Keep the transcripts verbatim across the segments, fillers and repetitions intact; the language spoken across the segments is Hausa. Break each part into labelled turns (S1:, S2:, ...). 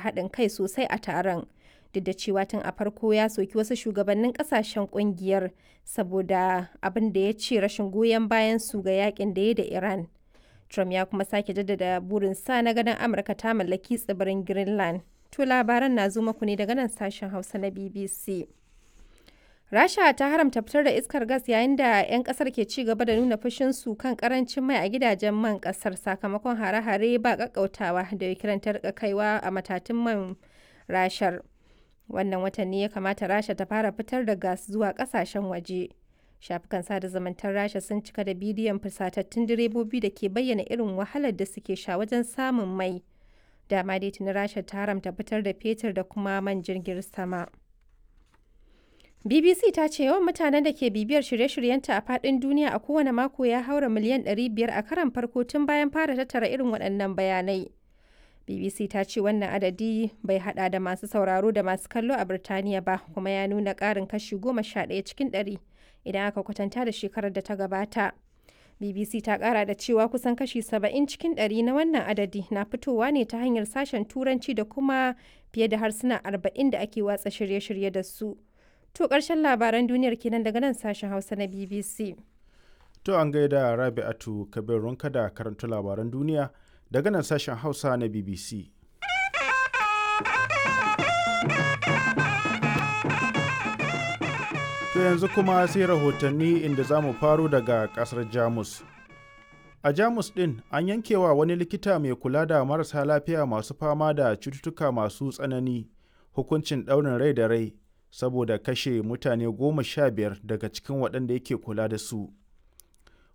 S1: haɗin kai sosai a taron. Duk da cewa tun a farko ya soki wasu shugabannin kasashen kungiyar saboda abin da ya ce rashin goyon bayan su ga yakin da ya da Iran. Trump ya kuma sake jaddada burinsa na ganin Amurka ta mallaki tsibirin Greenland. To labaran na zo muku ne daga nan sashen Hausa na B B C. Rasha ta haramta fitar da iskar gas yayin da 'yan kasar ke ci gaba da nuna fushinsu kan karancin mai a gidajen man kasar sakamakon hare-hare ba kakkautawa da Ukraine ta rika kaiwa a matatun man Rashar. Wannan watan ne ya kamata Rasha ta fara fitar da gas zuwa kasashen waje. Shafukan sada zumuntar Rasha sun cika da bidiyon fusatattun direbobi da ke bayyana irin wahalar da suke sha wajen samun mai. Dama dai tuni Rasha ta haramta fitar da fetur da kuma man jirgin sama. B B C ta ce yawan mutanen da ke bibiyar shirye-shiryenta a faɗin duniya a kowane mako ya haura miliyan ɗari biyar a karon farko tun bayan fara tattara irin waɗannan bayanai. B B C ta ce wannan adadi bai hada da masu sauraro da masu kallo a Birtaniya ba, kuma ya nuna ƙarin kashi goma sha ɗaya cikin ɗari idan aka kwatanta da shekarar da ta gabata. B B C ta kara da cewa kusan kashi saba'in cikin ɗari na wannan adadi na fitowa ne ta hanyar sashen Turanci da kuma fiye da harsuna arba'in da ake watsa shirye-shirye da su. To ƙarshen labaran duniyar kenan daga nan sashen Hausa na B B C.
S2: To an gaida Rabi'atu Kabir Runka da karanta labaran duniya daga nan sashen Hausa na B B C. To yanzu kuma sai rahotanni, inda za mu faro daga kasar Jamus. A Jamus ɗin an yankewa wani likita mai kula da marasa lafiya masu fama da cututtuka masu tsanani hukuncin ɗaurin rai da rai saboda kashe mutane goma sha biyar daga cikin waɗanda yake kula da su.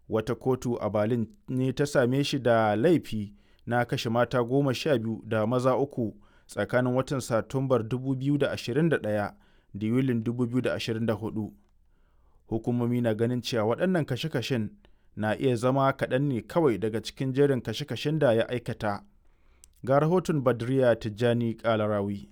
S2: Wata kotu a Berlin ne ta same shi da laifi na kashe mata goma sha biyu da maza uku tsakanin watan Satumbar dubu biyu da ashirin da ɗaya da Yulin dubu biyu da ashirin da huɗu. Hukumomi na ganin cewa waɗannan kashe-kashen na iya zama kaɗan ne kawai daga cikin jerin kashe-kashen da ya aikata. Ga rahoton Badriya Tijjani Kalarawi.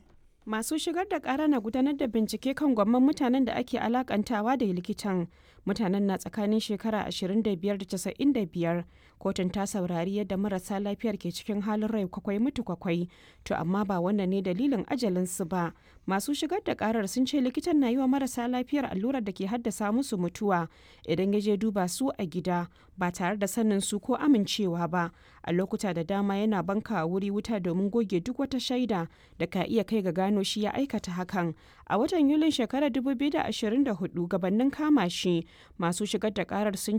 S3: Masu shigar da kara na gudanar da bincike kan gwamman mutanen da ake alakantawa da likitan. Mutanen na tsakanin shekara ashirin da biyar da casa'in da biyar. Kotun ta saurari yadda marasa lafiyar ke cikin halin rai kwakwai mutu kwakwai. To amma ba wannan ne dalilin ajalinsu ba. Masu shigar da karar sun ce likitan na yi wa marasa lafiyar allurar da ke haddasa musu mutuwa idan ya je duba su a gida ba tare da sanin su ko amincewa ba. A lokuta da dama yana banka wuri wuta domin goge duk wata shaida da ka iya kai ga gano shi ya aikata hakan. A watan Yulin shekarar dubu biyu da ashirin da huɗu, gabanin kama shi, masu shigar da karar sun ce